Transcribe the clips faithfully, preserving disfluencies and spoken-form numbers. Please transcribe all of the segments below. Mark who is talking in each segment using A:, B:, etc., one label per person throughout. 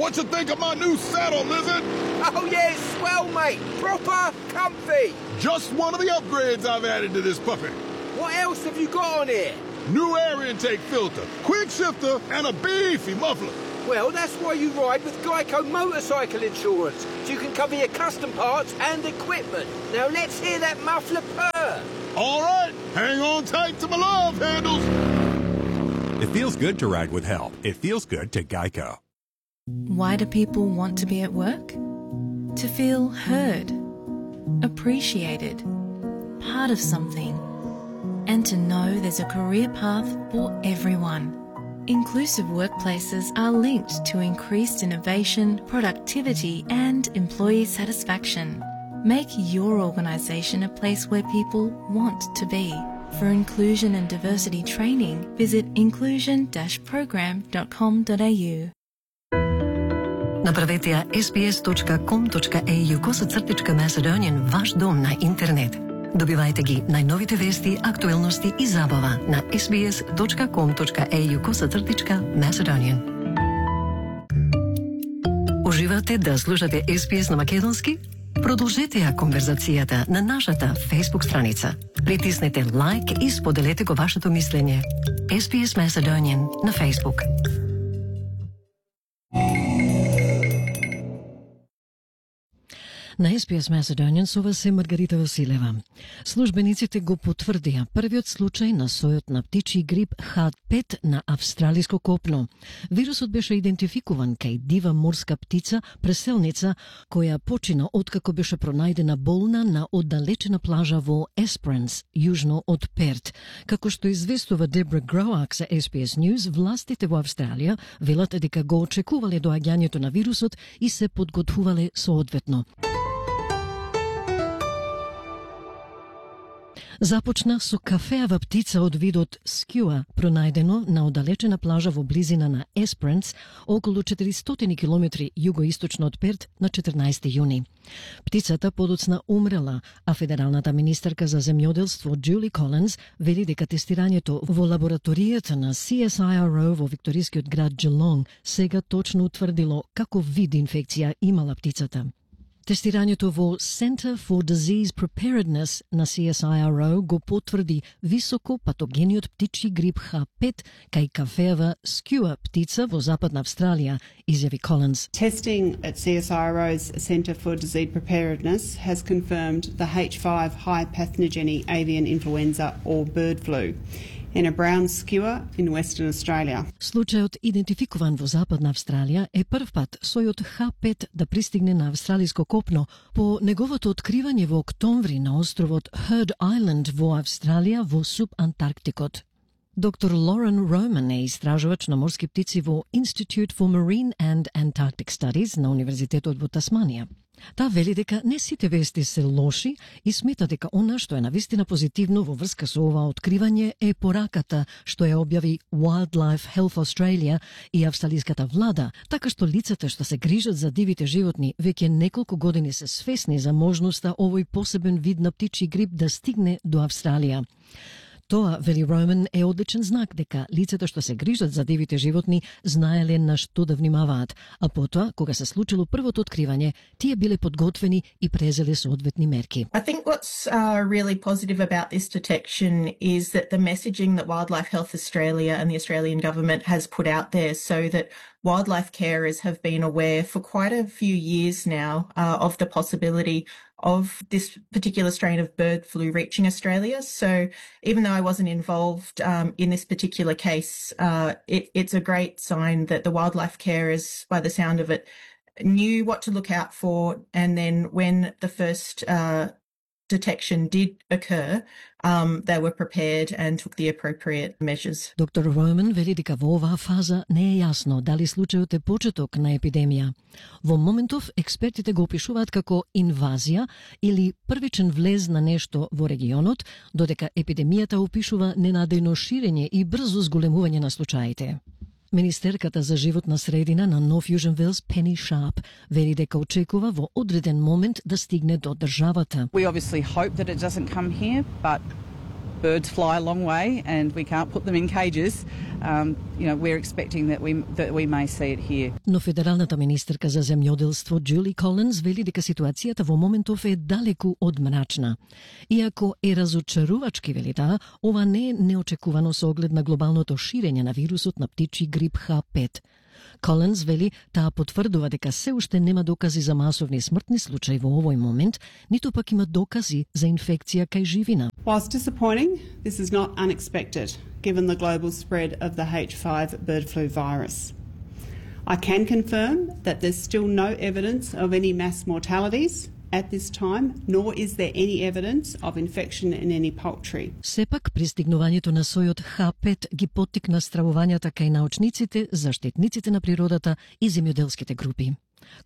A: What you think of my new saddle, Lizard?
B: Oh yeah, it's swell, mate. Proper comfy.
A: Just one of the upgrades I've added to this puppy.
B: What else have you got on here?
A: New air intake filter, quick shifter, and a beefy muffler.
B: Well, that's why you ride with Geico motorcycle insurance, so you can cover your custom parts and equipment. Now let's hear that muffler purr.
A: All right, hang on tight to my love handles.
C: It feels good to ride with help. It feels good to Geico.
D: Why do people want to be at work? To feel heard, appreciated, part of something, and to know there's a career path for everyone. Inclusive workplaces are linked to increased innovation, productivity, and employee satisfaction. Make your organisation a place where people want to be. For inclusion and diversity training, visit inclusion dash program dot com dot a u.
E: Направете ја ес би ес точка ком точка е ю косацртичка Macedonian ваш дом на интернет. Добивајте ги најновите вести, актуелности и забава на ес би ес точка ком точка е ю косацртичка Macedonian. Уживате да слушате ес би ес на македонски? Продолжете ја конверзацијата на нашата Facebook страница. Притиснете лайк и споделете го вашето мислење. ес би ес Macedonian на Facebook.
F: На ес би ес Macedonian со вас е Маргарита Василева. Службениците го потврдија првиот случај на сојот на птичји грип Х пет на австралиско копно. Вирусот беше идентификуван кај дива морска птица, преселница, која почина откако беше пронајдена болна на оддалечена плажа во Есперанс, јужно од Перт. Како што известува Дебра Гроак за ес би ес News, властите во Австралија велат дека го очекувале доаѓањето на вирусот и се подготвувале соодветно. Започна со кафеава птица од видот скјуа, пронајдено на оддалечена плажа во близина на Есперанс, околу четиристотини километри југоисточно од Перт на четрнаесети јуни. Птицата подоцна умрела, а федералната министерка за земјоделство Џули Колинс вели дека тестирањето во лабораторијата на си ес ај ар о во викторискиот град Geelong сега точно утврдило каков вид инфекција имала птицата. Тестирањето во Center for Disease Preparedness на си ес ај ар о го потврди високо патогениот птичји грип Х пет кај кафеава скјуа птица во Западна Австралија, изјави Колинс.
G: Testing at C S I R O's Centre for Disease Preparedness has confirmed the H five high pathogenic avian influenza or bird flu in a brown skua in Western Australia.
F: Случајот идентификуван во Западна Австралија е прв пат сојот Х пет да пристигне на австралиско копно по неговото откривање во октомври на островот Heard Island во Австралија во субантарктикот. Доктор Лорен Роман е истражувач на морски птици во Institute for Marine and Antarctic Studies на Универзитетот во Тасманија. Таа вели дека не сите вести се лоши и смета дека она што е навистина позитивно во врска со ова откривање е пораката што ја објави Wildlife Health Australia и австралиската влада, така што лицата што се грижат за дивите животни веќе неколку години се свесни за можноста овој посебен вид на птичји грип да стигне до Австралија. Тоа, вели Роман, е одличен знак дека лицата што се грижат за дивите животни знаеле на што да внимаваат, а потоа, кога се случило првото откривање, тие биле подготвени и презеле соодветни мерки.
H: I think what's uh, really positive about this detection is that the messaging that Wildlife Health Australia and the Australian government has put out there so that wildlife carers have been aware for quite a few years now uh, of the possibility of this particular strain of bird flu reaching Australia. So even though I wasn't involved um, in this particular case, uh, it, it's a great sign that the wildlife carers, by the sound of it, knew what to look out for. And then when the first uh, detection did occur, um, they were prepared and took the appropriate measures.
F: Доктор Роман вели дека во оваа фаза не е јасно дали случајот е почеток на епидемија. Во моментов експертите го опишуваат како инвазија или првичен влез на нешто во регионот, додека епидемијата опишува ненадејно ширење и брзо зголемување на случаите. Министерката за животна средина на Нов Јужен Велс, Пени Шарп, вели дека очекува во одреден момент да стигне до државата.
I: We obviously hope that it doesn't come here, but birds fly a long way and we can't put them in cages, um, you know, we're expecting that we that we may see it here.
F: Но федералната министерка за земјоделство Джули Колинс вели дека ситуацијата во моментов е далеку од мрачна. Иако е разочарувачки, вели таа, ова не е неочекувано со оглед на глобалното ширење на вирусот на птичји грип Х пет. Колинс вели таа потврдува дека се уште нема докази за масовни смртни случаи во овој момент, ниту пак има докази за инфекција кај живина.
G: Whilst disappointing, this is not unexpected, given the global spread of the H five bird flu virus. I can confirm that there's still no evidence of any mass mortalities at this time, nor is there any evidence of infection in any poultry.
F: Сепак, пристигнувањето на сојот Х пет ги поттикна стравувањата кај научниците, заштитниците на природата и земјоделските групи.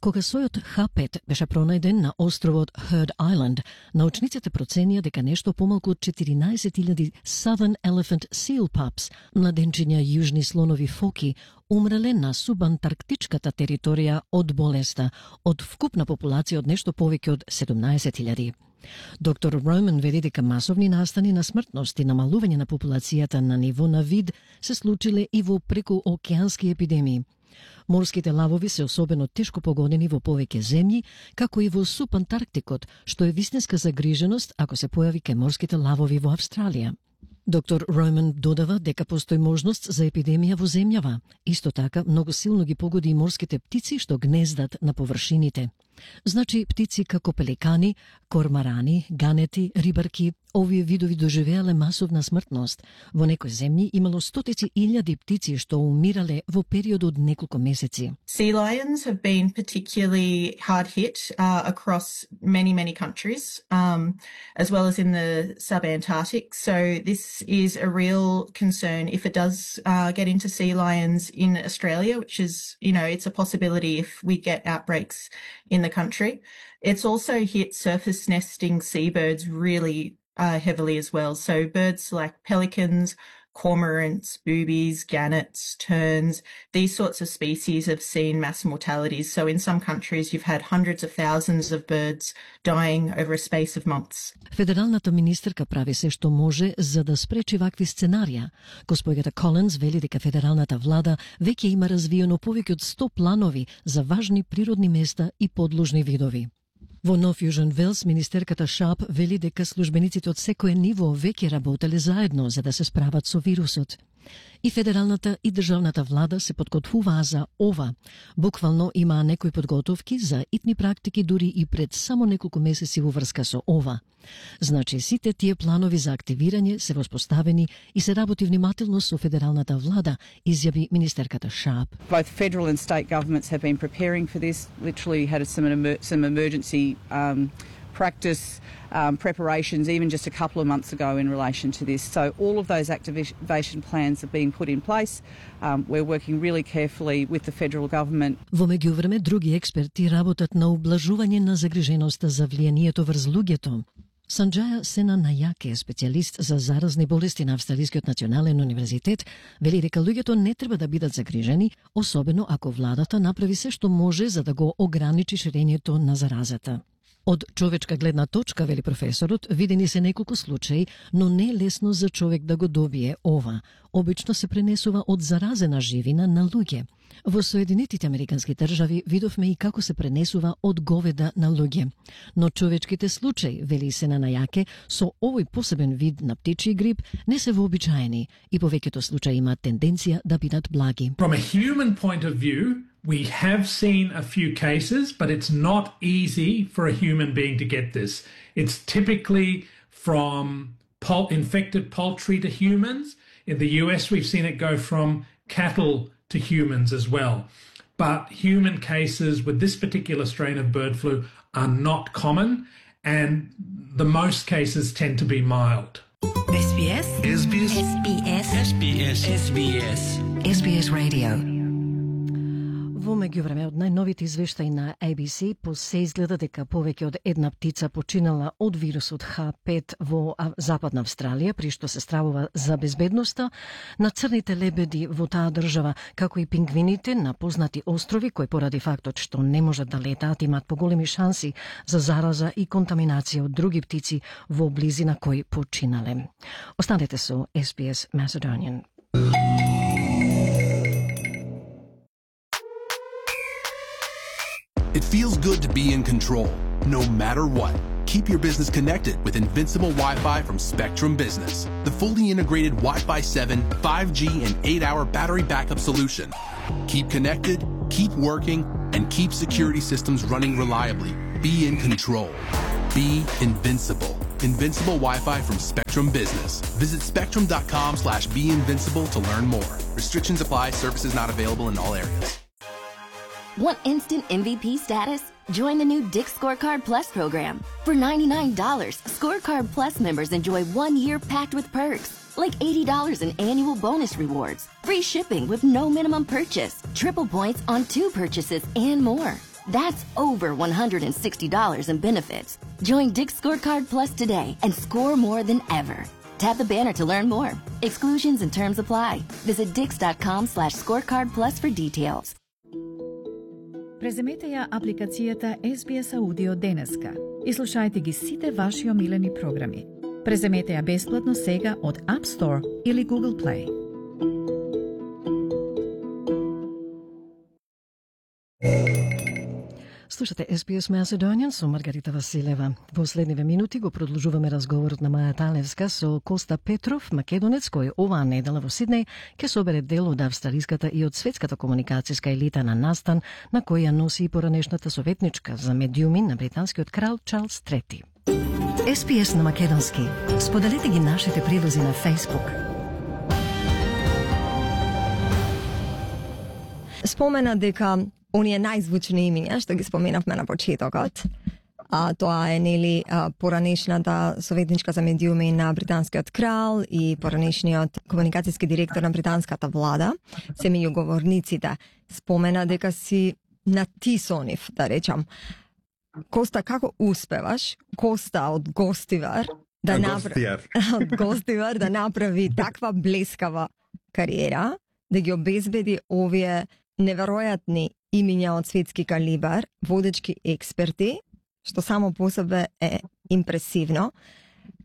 F: Кога сојот Х пет беше пронајден на островот Heard Island, научниците проценија дека нешто помалку од четиринаесет илјади Southern Elephant Seal Pups, младенчиња јужни слонови фоки, умреле на субантарктичката територија од болеста, од вкупна популација од нешто повеќе од седумнаесет илјади. Доктор Роман вели дека масовни настани на смртност и намалување на популацијата на ниво на вид се случиле и во прекуокеански епидемии. Морските лавови се особено тешко погодени во повеќе земји, како и во субантарктикот, што е вистинска загриженост ако се појави кај морските лавови во Австралија. Доктор Роман додава дека постои можност за епидемија во земјава. Исто така, многу силно ги погоди и морските птици што гнездат на површините. Значи, птици како пеликани, кормарани, ганети, рибарки, овие видови доживеале масовна смртност. Во некои земји имало стотици илјади птици што умирале во период од неколку месеци.
H: Sea lions have been particularly hard hit uh, across many, many countries, um, as well as in the subantarctic. So this is a real concern if it does uh, get into sea lions in Australia, which is, you know, it's a possibility if we get outbreaks in the country. It's also hit surface nesting seabirds really uh, heavily as well. So birds like pelicans, cormorants, boobies, gannets, terns, these sorts of species have seen mass mortalities. So in some countries you've had hundreds of thousands of birds dying over a space of months.
F: Федералната министерка прави се што може за да спречи вакви сценарија. Госпоѓата Колинс вели дека федералната влада веќе има развиено повеќе од сто планови за важни природни места и подложни видови. Во Нов Јужен Велс, министерката Шап вели дека службениците од секое ниво веќе работеле заедно за да се справат со вирусот. И федералната и државната влада се подготвуваа за ова. Буквално имаа некои подготовки за итни практики дури и пред само неколку месеци во врска со ова. Значи, сите тие планови за активирање се воспоставени и се работи внимателно со федералната влада, изјави министерката Шап.
I: Both federal and state governments have been preparing for this, literally had some, emer some emergency um, practice um, preparations even just a couple of months ago in relation to this. So all of those activation plans are being put in place. Um, we're working really carefully with the federal government.
F: Во меѓувреме, други експерти работат на ублажување на загриженоста за влијанието врз луѓето. Санџаја Сена Најаке, специјалист за заразни болести на Австралискиот национален универзитет, вели дека луѓето не треба да бидат загрижени, особено ако владата направи се што може за да го ограничи ширењето на заразата. Од човечка гледна точка, вели професорот, видени се неколку случаи, но не е лесно за човек да го добие ова. Обично се пренесува од заразена живина на луѓе. Во Соединетите Американски држави видовме и како се пренесува од говеда на луѓе. Но човечките случаи, вели Сена Најаке, со овој посебен вид на птичји грип не се вообичаени и повеќето случаи имаат тенденција да бидат благи.
J: From a human point of view, we have seen a few cases, but it's not easy for a human being to get this. It's typically from pol- infected poultry to humans. In the U S, we've seen it go from cattle to humans as well. But human cases with this particular strain of bird flu are not common, and the most cases tend to be mild.
E: S B S
K: S B S
E: S B S
K: S B S S B S
E: S B S Radio.
F: Во меѓувреме, од најновите извештаи на A B C по се изгледа дека повеќе од една птица починала од вирусот H пет во Западна Австралија, при што се стравува за безбедноста на црните лебеди во таа држава, како и пингвините на познати острови, кои поради фактот што не можат да летаат имаат поголеми шанси за зараза и контаминација од други птици во близина кои починале. Останете со S B S Macedonian.
K: It feels good to be in control, no matter what. Keep your business connected with Invincible Wi-Fi from Spectrum Business, the fully integrated Wi-Fi seven, five G, and eight hour battery backup solution. Keep connected, keep working, and keep security systems running reliably. Be in control. Be invincible. Invincible Wi-Fi from Spectrum Business. Visit spectrum.com slash be invincible to learn more. Restrictions apply. Services not available in all areas.
L: Want instant M V P status? Join the new Dick's Scorecard Plus program. For ninety-nine dollars, Scorecard Plus members enjoy one year packed with perks, like eighty dollars in annual bonus rewards, free shipping with no minimum purchase, triple points on two purchases, and more. That's over one hundred sixty dollars in benefits. Join Dick's Scorecard Plus today and score more than ever. Tap the banner to learn more. Exclusions and terms apply. Visit dix.com slash scorecard plus for details.
M: Преземете ја апликацијата S B S Audio денеска и слушајте ги сите ваши омилени програми. Преземете ја бесплатно сега од App Store или Google Play.
F: Слушате S B S Macedonian со Маргарита Василева. Во следниве минути го продолжуваме разговорот на Маја Талевска со Коста Петров, македонец кој оваа недела во Сиднеј ќе собере дел од австралиската и од светската комуникацијска елита на настан на кој ја носи и поранешната советничка за медиуми на британскиот крал Чарлс трети.
E: S B S на македонски. Споделете ги нашите прилози на Facebook.
N: Спомена дека оние најзвучни имиња што ги споменавме на почетокот, а тоа е нели поранешната советничка за медиуми на британскиот крал и поранешниот комуникацијски директор на британската влада, се меѓу говорниците. Спомена дека си натисонив, да речам. Коста, како успеваш, Коста од Гостивар, да направи од Гостивар да направи таква блескава кариера, да ги обезбеди овие неверојатни имиња од светски калибар, водечки експерти, што само по себе е импресивно.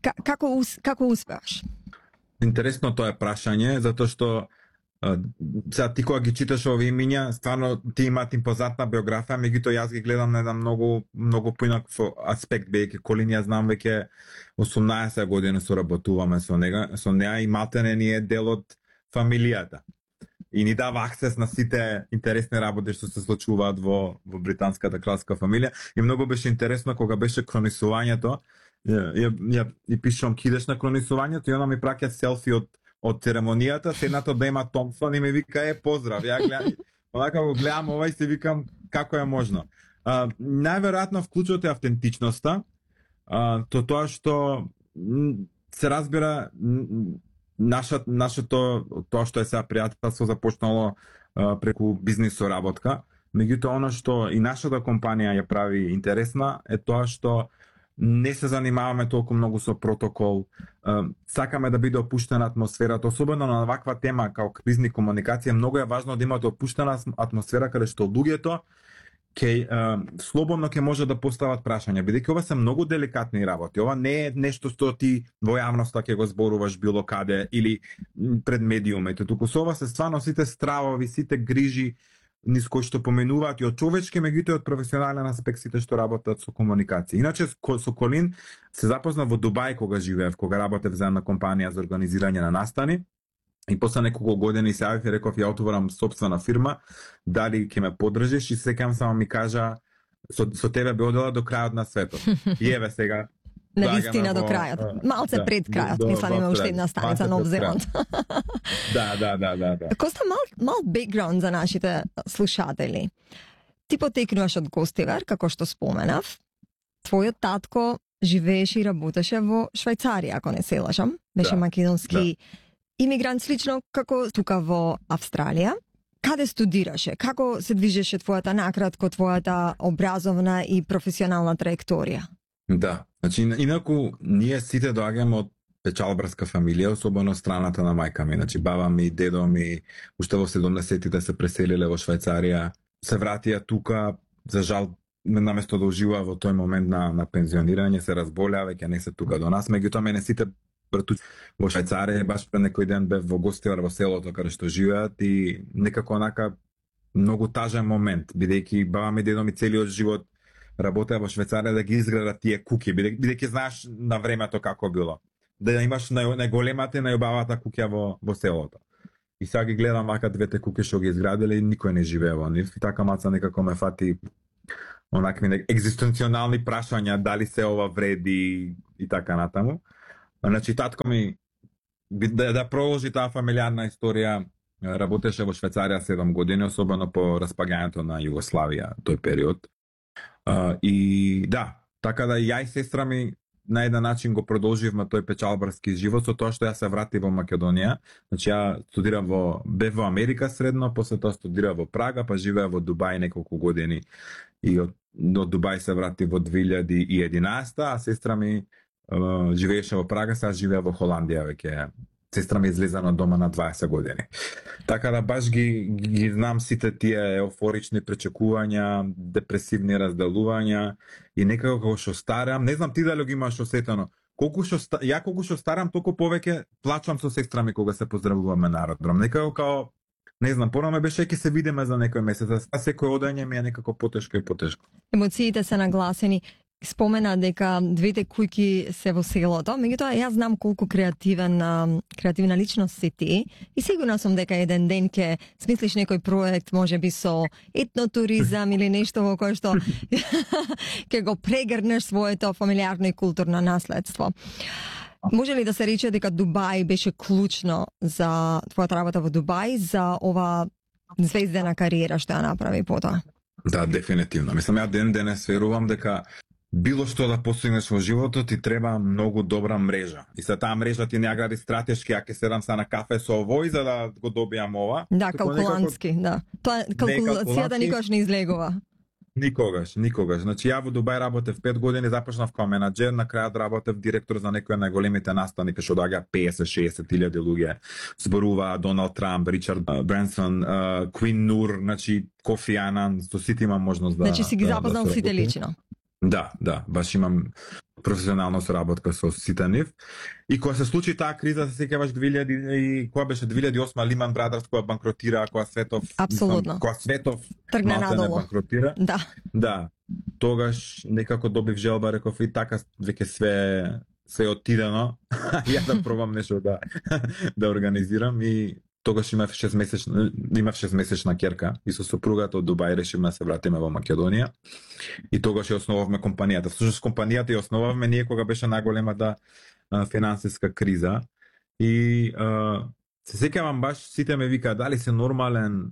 N: К како како успеваш?
O: Интересно тоа е прашање, затоа што сега ти кога ги читаш овие имиња, стварно ти имаат импозантна биографија, меѓутоа јас ги гледам на еден многу многу поинаков аспект, бидејќи Колин ја знам веќе осумнаесет години соработуваме со нега, со неа и малтене ни е дел од фамилијата. И ни дава аксес на сите интересни работи што се случуваат во, во британската кралска фамилија. И многу беше интересно кога беше кронисувањето, ја, ја, ја, ја пишувам кидеш на кронисувањето и она ми праќа селфи од, од церемонијата, седнато да има Томсон и ми вика е поздрав. Ја гледам, онака го гледам ова и се викам како е можно. А, најверојатно вклучот е автентичноста, а, то тоа што се разбира Нашата, нашето, тоа што е сега пријателство започнало а, преку бизнис соработка, меѓутоа оно што и нашата компанија ја прави интересна е тоа што не се занимаваме толку многу со протокол, а, сакаме да биде опуштена атмосферата, особено на ваква тема како кризни комуникација, многу е важно да имате опуштена атмосфера каде што луѓето ке слободно ќе може да постават прашања, бидејќи ова се многу деликатни работи. Ова не е нешто што ти во јавноста ќе го зборуваш било каде или пред медиумите, туку со ова се стварно сите стравови, сите грижи низ кои што поменуваат и од човечки, меѓутоа од професионален аспект сите што работат со комуникација. Иначе со Колин се запознав во Дубај кога живеев, кога работев за една компанија за организирање на настани. И после неколку години се јавив и реков ја отворам сопствена фирма, дали ќе ме поддржиш и секам само ми кажа со, со тебе би одела до крајот на светот. И еве сега
N: навистина до крајот. Малце да, пред крајот, до, мислам има уште една станица Нов Зеланд.
O: Да, да, да, да, да.
N: Коста мал мал бекграунд за нашите слушатели. Ти потекнуваш од Гостивар, како што споменав. Твојот татко живееше и работеше во Швајцарија, ако не се лажам. Беше да, македонски да. Имигрант слично како тука во Австралија. каде студираше? Како се движеше твојата накратко твојата образовна и професионална траекторија?
O: Да, значи инаку ние сите доаѓаме од печалбарска фамилија, особено страната на мајка ми, значи баба ми, дедо ми, уште во седумдесетите се преселиле во Швајцарија, се вратија тука, за жал наместо да ужива во тој момент на, на пензионирање, се разболеа, веќе не се тука до нас, меѓутоа мене сите братуци во Швајцарија, баш пред некој ден бев во гостивар во селото каде што живеат и некако онака многу тажен момент, бидејќи баба ми, дедо ми целиот живот работеа во Швајцарија да ги изградат тие куќи, бидејќи знаеш на времето како било. Да имаш најголемата и најубавата куќа во, во селото. И сега ги гледам вака двете куќи што ги изградиле и никој не живее во нив. И така маца некако ме фати онакви екзистенционални прашања, дали се ова вреди и така натаму. Значи татко ми да, да продолжи таа фамилиарна историја, работеше во Швајцарија седум години, особено по распагањето на Југославија тој период. Uh, и да, така да ја и сестра ми на еден начин го продолживме тој печалбарски живот со тоа што ја се врати во Македонија. Значи ја студирав во бев во Америка средно, после тоа студирав во Прага, па живеа во Дубај неколку години и од, од Дубај се врати во две илјади и единаесета, а сестра ми uh, живееше во Прага, сега живеа во Холандија веќе. Сестра ми излеза на дома на дваесет години. Така да баш ги, ги знам сите тие еуфорични пречекувања, депресивни разделувања и некако кога што старам, не знам ти дали ги имаш осетено, колку што ја колку што старам, толку повеќе плачам со сестра ми кога се поздравуваме на аеродром. Некако као не знам, порано беше ќе се видиме за некој месец, а секој одање ми е некако потешко и потешко.
N: Емоциите се нагласени. Спомена дека двете куќи се во селото, меѓутоа јас знам колку креативен креативна личност си ти и сигурна сум дека еден ден ќе смислиш некој проект, можеби со етнотуризам или нешто во кое што ќе го прегрнеш своето фамилиарно и културно наследство. Може ли да се рече дека Дубај беше клучно за твојата работа во Дубај, за ова звездена кариера што ја направи потоа?
O: Да, дефинитивно. Мислам, ја ден денес верувам дека било што да постигнеш во животот ти треба многу добра мрежа. И за таа мрежа ти не ја гради стратешки, ја ќе седам са на кафе со овој за да го добијам ова.
N: Да, калкулантски, некако... да. Тоа калкулацијата никогаш не излегува.
O: Никогаш, никогаш. Значи ја во Дубај работев пет години, започнав као менаџер, на крајот работев директор за некои најголемите настани, кај што доаѓа песет-шеесет илјади луѓе. Зборува Доналд Трамп, Ричард Бренсон, Квин Нур, значи Кофи Анан, со сите имам можност да.
N: Значи си ги запознал да сите лично.
O: Да, да, баш имам професионална соработка со сите нив. И кога се случи таа криза, се сеќаваш две илјади и кога беше две илјади и осма Lehman Brothers која банкротира, која светов,
N: апсолутно.
O: Која светов
N: тргна надолу.
O: Банкротира.
N: Да.
O: Да. Тогаш некако добив желба, реков и така веќе све се отидено. Ја да пробам нешто да да организирам и тогаш имав шестмесечна имав шестмесечна ќерка и со сопругата од Дубај решивме да се вратиме во Македонија. И тогаш ја основавме компанијата. Всушност компанијата ја основавме ние кога беше најголемата финансиска криза. И а, се сеќавам баш сите ме викаа дали се нормален,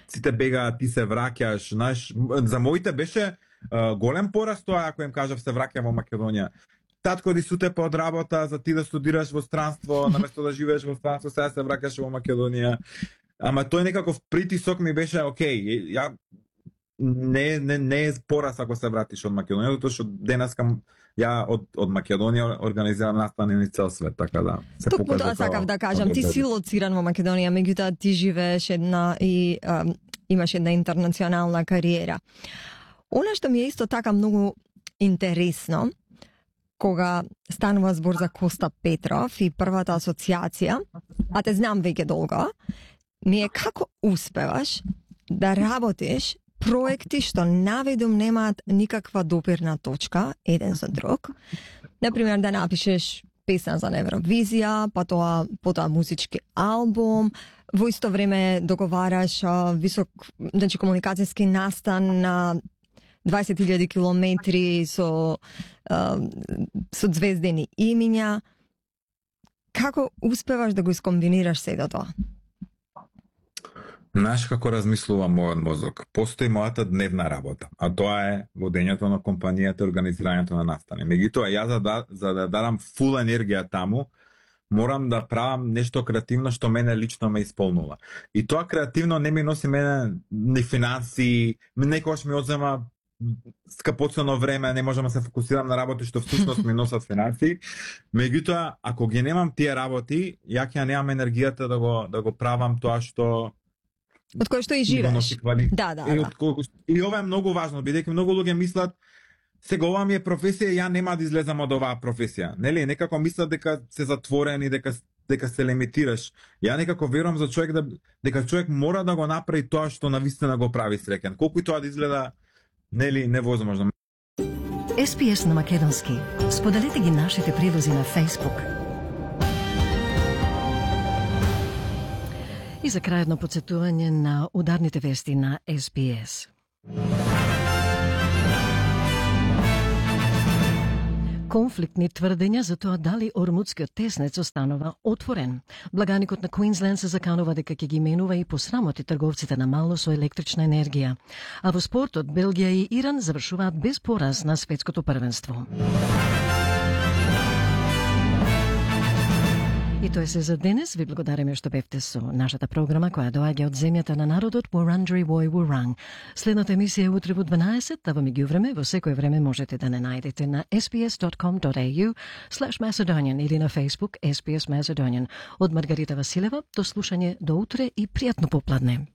O: сите бегаат, ти се враќаш, знаеш, за моите беше а, голем пораст тоа ако им кажав се враќам во Македонија. Татко ди суте по од работа за ти да студираш во странство, наместо да живееш во странство, сега се враќаш во Македонија. Ама тој некаков притисок ми беше окей, ја не не не е пораз ако се вратиш од Македонија, затоа што денеска ја од од Македонија организирам настани на цел свет, така да се
N: покажа. Токму тоа сакав да кажам, ти си лоциран во Македонија, меѓутоа ти живееш една и а, имаш една интернационална кариера. Она што ми е исто така многу интересно, кога станува збор за Коста Петров и првата асоциација, а те знам веќе долго, ми е како успеваш да работиш проекти што наведум немаат никаква допирна точка еден со друг. Например, да напишеш песна за Евровизија, па тоа потоа музички албум, во исто време договараш а, висок, значи комуникацијски настан на дваесет илјади километри со а, со звездени имиња. Како успеваш да го искомбинираш сето тоа?
O: Знаеш како размислува мојот мозок? Постои мојата дневна работа, а тоа е водењето на компанијата и организирањето на настани. Меѓутоа, ја за да, за да дадам фул енергија таму, морам да правам нешто креативно што мене лично ме исполнува. И тоа креативно не ми носи мене ни финанси, некогаш ми одзема скапоцено време, не можам да се фокусирам на работи што всушност ми носат финанси. Меѓутоа, ако ги немам тие работи, ја ќе немам енергијата да го да го правам тоа што
N: од кој што и живееш. Да, да,
O: и,
N: да.
O: Од, и ова е многу важно, бидејќи многу луѓе мислат сега ова ми е професија, ја нема да излезам од оваа професија. Нели, некако мислат дека се затворени, дека дека се лимитираш. Ја некако верувам за човек да дека човек мора да го направи тоа што навистина го прави среќен. Колку и тоа да изгледа нели невозможно.
E: Ес Пи Ес на македонски. Споделете ги нашите прилози на Facebook.
F: И за крај едно подсетување на ударните вести на Ес Би Ес. Конфликтни тврдења за тоа дали Ормудскиот теснец останува отворен. Благаникот на Квинсленд се заканува дека ќе ги менува и посрамоти трговците на мало со електрична енергија. А во спортот Белгија и Иран завршуваат без пораз на светското првенство. И тоа се за денес. Ви благодариме што бевте со нашата програма која доаѓа од земјата на народот Wurundjeri Woi Wurrung. Следната емисија е утре во дванаесет, а во меѓувреме во секое време можете да не најдете на ес би ес точка ком точка ей ю слеш Macedonian или на Facebook Ес Би Ес Macedonian. Од Маргарита Василева, до слушање до утре и пријатно попладне.